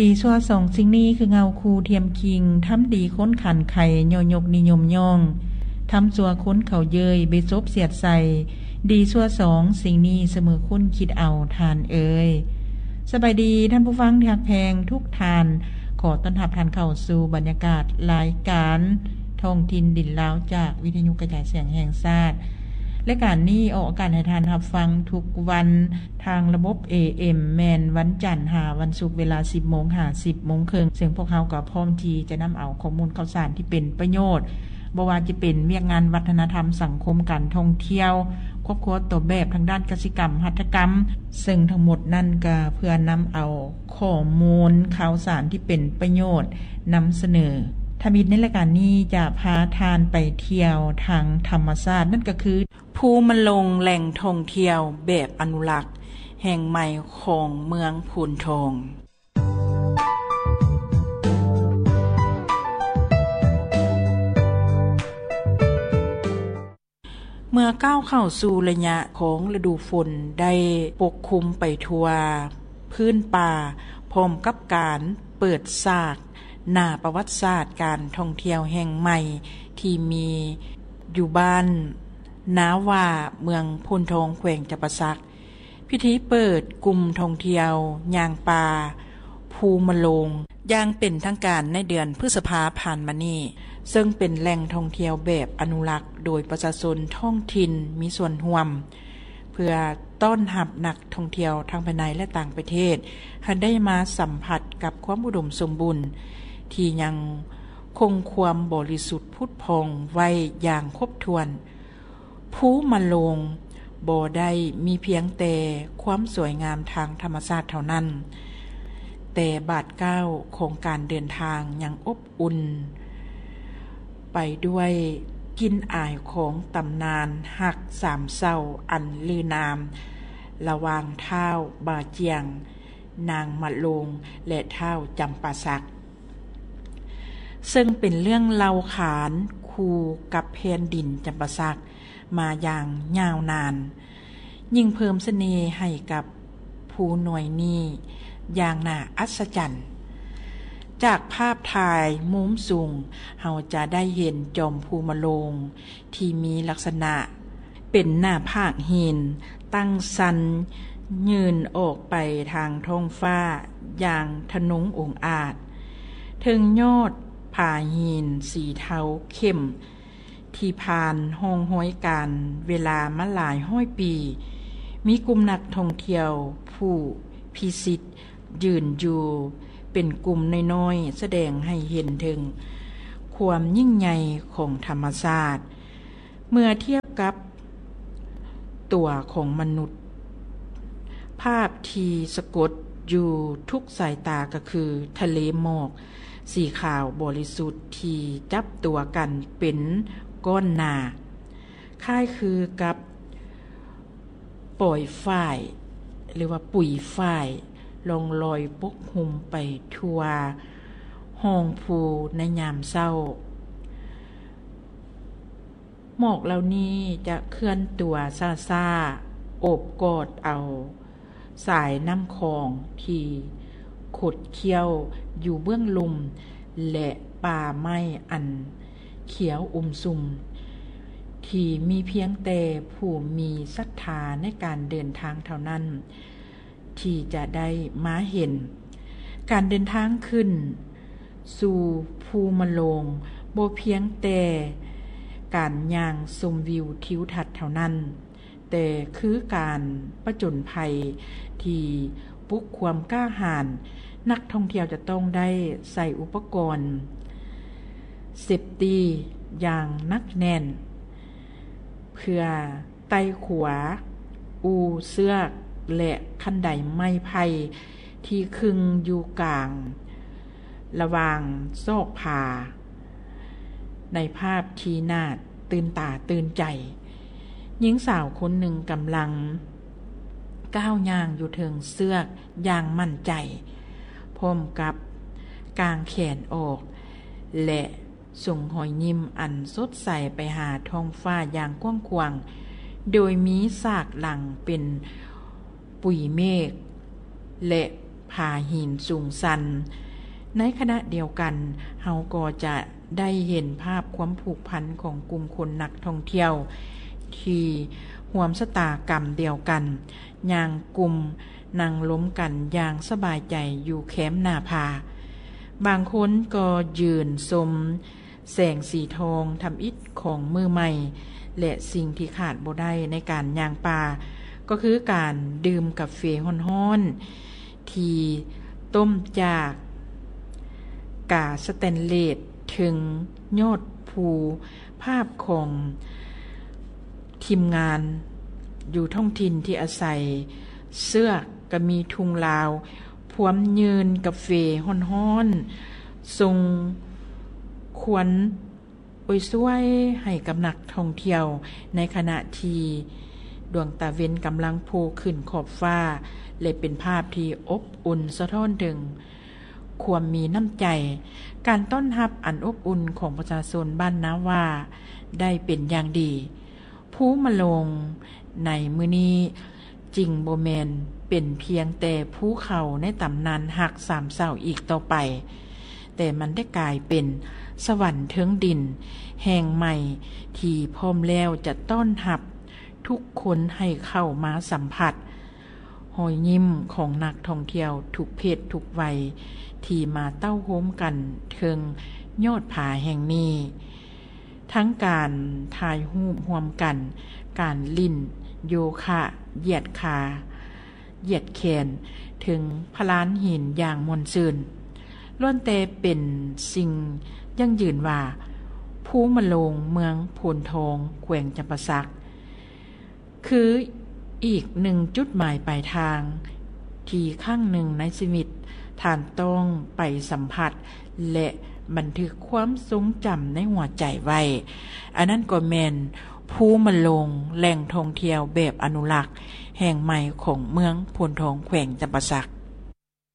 ດີຊົ່ວສອງສິ່ງນີ້ ຄືເງົາຄູ່ທຽມຄີງ, ທຳດີຄົນຂັນໄຄ ຍໍຍົກນິຍົມຍ້ອງ, ທຳຊົ່ວຄົນເຂົາເຍີ້ຍ ເບສົບສຽດໃສ່, ດີຊົ່ວສອງສິ່ງນີ້ ສະເໝີຄຸນຄິດເອົາທ່ານເອີຍ. ສະບາຍດີທ່ານຜູ້ຟັງທີ່ຮັກແພງທຸກທ່ານ, ຂໍຕ້ອນຮັບທ່ານເຂົ້າສູ່ບັນຍາກາດລາຍການທ້ອງຖິ່ນດິນລາວ ຈາກວິທະຍຸກະຈາຍສຽງແຫ່ງຊາດ. ລາຍການນີ້ອອກອາກາດໃຫ້ທ່ານຮັບຟັງທຸກວັນ ທາງລະບົບ ເອເອັມ ແມ່ນວັນຈັນຫາວັນສຸກ ເວລາສິບໂມງຫາສິບໂມງເຄິ່ງ, ເຊິ່ງພວກເຮົາກໍພ້ອມທີ່ຈະນຳເອົາຂໍ້ມູນຂ່າວສານທີ່ເປັນປະໂຫຍດ, ບໍ່ວ່າຈະເປັນວຽກງານວັດທະນະທຳ, ສັງຄົມ, ການທ່ອງທ່ຽວ, ຄອບຄົວ, ຕົວແບບທາງດ້ານກະສິກຳ, ຫັດຖະກຳ, ເຊິ່ງທັງໝົດນັ້ນກໍເພື່ອນຳເອົາຂໍ້ມູນຂ່າວສານທີ່ເປັນປະໂຫຍດນຳສະເໜີ. ທຳອິດໃນລາຍການນີ້ຈະພາທ່ານໄປທ່ຽວທາງທຳມະຊາດ, ນັ້ນກໍຄື ພູມະໂລງ ແຫຼ່ງທ່ອງທ່ຽວແບບອະນຸລັກແຫ່ງໃໝ່ຂອງເມືອງໂພນທອງ. ເມື່ອກ້າວເຂົ້າສູ່ໄລຍະຂອງລະດູຝົນ ໄດ້ປົກຄຸມໄປທົ່ວພື້ນປ່າ, ພ້ອມກັບການເປີດສາກໜ້າປະຫວັດສາດການທ່ອງທ່ຽວແຫ່ງໃໝ່ທີ່ມີຢູ່ບ້ານນາຫວ້າ ເມືອງໂພນທອງ ແຂວງຈຳປາສັກ. ພິທີເປີດກຸ່ມທ່ອງທ່ຽວຍ່າງປ່າພູມະໂລງຢ່າງເປັນທາງການໃນເດືອນພຶດສະພາຜ່ານມານີ້, ເຊິ່ງເປັນແຫຼ່ງທ່ອງທ່ຽວແບບອະນຸລັກໂດຍປະຊາຊົນທ້ອງຖິ່ນມີສ່ວນຮ່ວມ, ເພື່ອຕ້ອນຮັບນັກທ່ອງທ່ຽວທັງພາຍໃນ ແລະ ຕ່າງປະເທດ ໃຫ້ໄດ້ມາສຳຜັດກັບຄວາມອຸດົມສົມບູນທີ່ຍັງຄົງຄວາມບໍລິສຸດຜຸດຜ່ອງໄວ້ຢ່າງຄົບຖ້ວນ. ພູມະໂລງບໍ່ໄດ້ມີພຽງແຕ່ຄວາມສວຍງາມທາງທຳມະຊາດເທົ່ານັ້ນ, ແຕ່ບາດກ້າວຂອງການເດີນທາງຍັງອົບອຸ່ນໄປດ້ວຍກິ່ນອາຍຂອງຕຳນານຮັກສາມເສົ້າອັນລືນາມ ລະຫວ່າງທ້າວບາຈຽງ, ນາງມະໂລງ ແລະ ທ້າວຈຳປາສັກ. ເຊິ່ງເປັນເລື່ອງເລົ່າຂານຄູ່ກັບແຜ່ນດິນຈຳປາສັກມາຢ່າງຍາວນານ, ຍິ່ງເພີ່ມສະເໜ່ໃຫ້ກັບພູໜ່ວຍນີ້ຢ່າງໜ້າອັດສະຈັນ. ຈາກພາບຖ່າຍມຸມສູງ, ເຮົາຈະໄດ້ເຫັນຈອມພູມະໂລງ ທີ່ມີລັກສະນະເປັນໜ້າຜາກຫີນຕັ້ງຊັນຍື່ນອອກໄປທາງທ້ອງຟ້າຢ່າງທະນົງອົງອາດ. ເທິງຍອດຜາຫີນສີເທົາເຂັ້ມທີ່ຜ່ານຮ່ອງຮອຍການເວລາມາຫຼາຍຮ້ອຍປີ, ມີກຸ່ມນັກທ່ອງທ່ຽວຜູ້ພິສິດ ຢືນຢູ່ເປັນກຸ່ມນ້ອຍໆ ສະແດງໃຫ້ເຫັນເຖິງຄວາມຍິ່ງໃຫຍ່ຂອງທຳມະຊາດ ເມື່ອທຽບກັບຕົວຂອງມະນຸດ. ພາບທີ່ສະກົດຢູ່ທຸກສາຍຕາກໍຄືທະເລໝອກສີຂາວບໍລິສຸດທີ່ຈັບຕົວກັນເປັນກ້ອນໜາ, ຄ້າຍຄືກັບ ປອຍຝ້າຍ ຫຼືວ່າປຸຍຝ້າຍ ລ່ອງລອຍປົກຫຸ້ມໄປທົ່ວຮ່ອງພູໃນຍາມເຊົ້າ. ໝອກເຫຼົ່ານີ້ຈະເຄື່ອນຕົວຊ້າໆ ໂອບກອດເອົາສາຍນ້ຳຂອງທີ່ຂົດຄ້ຽວຢູ່ເບື້ອງລຸ່ມ ແລະ ປ່າໄມ້ອັນຂຽວອຸມຊຸມ ທີ່ມີພຽງແຕ່ຜູ້ມີສັດທາໃນການເດີນທາງເທົ່ານັ້ນ ທີ່ຈະໄດ້ມາເຫັນ. ການເດີນທາງຂຶ້ນສູ່ພູມະໂລງ ບໍ່ພຽງແຕ່ການຍ່າງຊົມວິວທິວທັດເທົ່ານັ້ນ, ແຕ່ຄືການປະຈົນໄພທີ່ປຸກຄວາມກ້າຫານ. ນັກທ່ອງທ່ຽວຈະຕ້ອງໄດ້ໃສ່ອຸປະກອນເຊບຕີຢ່າງໜັກແໜ້ນ ເພື່ອໄຕ່ຂົວ, ອູ່ເຊືອກ ແລະ ຄັນໄດໄມ້ໄຜ່ທີ່ຄຶງຢູ່ກາງລະຫວ່າງຊອກຜາ. ໃນພາບທີ່ໜ້າຕື່ນຕາຕື່ນໃຈ, ຍິງສາວຄົນໜຶ່ງກຳລັງກ້າວຍ່າງຢູ່ເທິງເຊືອກຢ່າງໝັ້ນໃຈ, ພ້ອມກັບກາງແຂນອອກ ແລະ ສົ່ງຮອຍຍິ້ມອັນສົດໃສໄປຫາທ້ອງຟ້າຢ່າງກວ້າງຂວາງ, ໂດຍມີສາກຫຼັງເປັນປຸຍເມກ ແລະ ຜາຫີນສູງຊັນ. ໃນຂະນະດຽວກັນ, ເຮົາກໍຈະໄດ້ເຫັນພາບຄວາມຜູກພັນຂອງກຸ່ມຄົນນັກທ່ອງທ່ຽວທີ່ຮ່ວມຊະຕາກຳດຽວກັນ, ຍ່າງກຸ່ມນັ່ງລົມກັນຢ່າງສະບາຍໃຈຢູ່ແຄມໜ້າຜາ. ບາງຄົນກໍຢືນຊົມ ແສງສີທອງທຳອິດຂອງມື້ໃໝ່ ແລະ ສິ່ງທີ່ຂາດບໍ່ໄດ້ໃນການຍ່າງປ່າ ກໍຄືການດື່ມກາເຟຮ້ອນໆ ທີ່ຕົ້ມຈາກກາສະແຕນເລດເທິງຍອດພູ. ພາບຂອງທີມງານຢູ່ທ້ອງຖິ່ນທີ່ອາໄສເຊືອກ ກະມີທຸງລາວພວມຍື່ນກາເຟຮ້ອນໆ ສົ່ງຄວັນໂອຍຊວຍໃຫ້ກັບນັກທ່ອງທ່ຽວ ໃນຂະນະທີ່ດວງຕາເວັນກຳລັງໂຜ່ຂຶ້ນຂອບຟ້າ ແລະ ເປັນພາບທີ່ອົບອຸ່ນສະທ້ອນເຖິງຄວາມມີນ້ຳໃຈ. ການຕ້ອນຮັບອັນອົບອຸ່ນຂອງປະຊາຊົນບ້ານນາຫວ້າໄດ້ເປັນຢ່າງດີ. ພູມະໂລງໃນມື້ນີ້ຈຶ່ງບໍ່ແມ່ນເປັນພຽງແຕ່ພູເຂົາໃນຕຳນານຮັກສາມເສົາອີກຕໍ່ໄປ, ແຕ່ມັນໄດ້ກາຍເປັນສະຫວັນເທິງດິນແຫ່ງໃໝ່ທີ່ພ້ອມແລ້ວຈະຕ້ອນຮັບທຸກຄົນໃຫ້ເຂົ້າມາສຳຜັດຮອຍຍິ້ມຂອງນັກທ່ອງທ່ຽວທຸກເພດທຸກໄວທີ່ມາເຕົ້າໂຮມກັນເທິງຍອດຜາແຫ່ງນີ້. ທັງການຖ່າຍຮູບຮ່ວມກັນ, ການຫຼິ້ນໂຍຄະ, ຢຽດຂາ, ຢຽດແຂນເທິງພະລານຫີນຢ່າງມ່ວນຊື່ນ, ລ້ວນແຕ່ເປັນສິ່ງຢັ້ງຢືນວ່າ ພູມະໂລງເມືອງໂພນທອງ ແຂວງຈຳປາສັກ ຄືອີກໜຶ່ງຈຸດໝາຍປາຍທາງທີ່ຄັ້ງໜຶ່ງໃນຊີວິດທ່ານຕ້ອງໄປສຳຜັດ ແລະ ບັນທຶກຄວາມຊົງຈຳໃນຫົວໃຈໄວ້. ອັນນັ້ນກໍແມ່ນພູມະໂລງ ແຫຼ່ງທ່ອງທ່ຽວແບບອະນຸລັກແຫ່ງໃໝ່ຂອງເມືອງໂພນທອງ ແຂວງຈຳປາສັກ.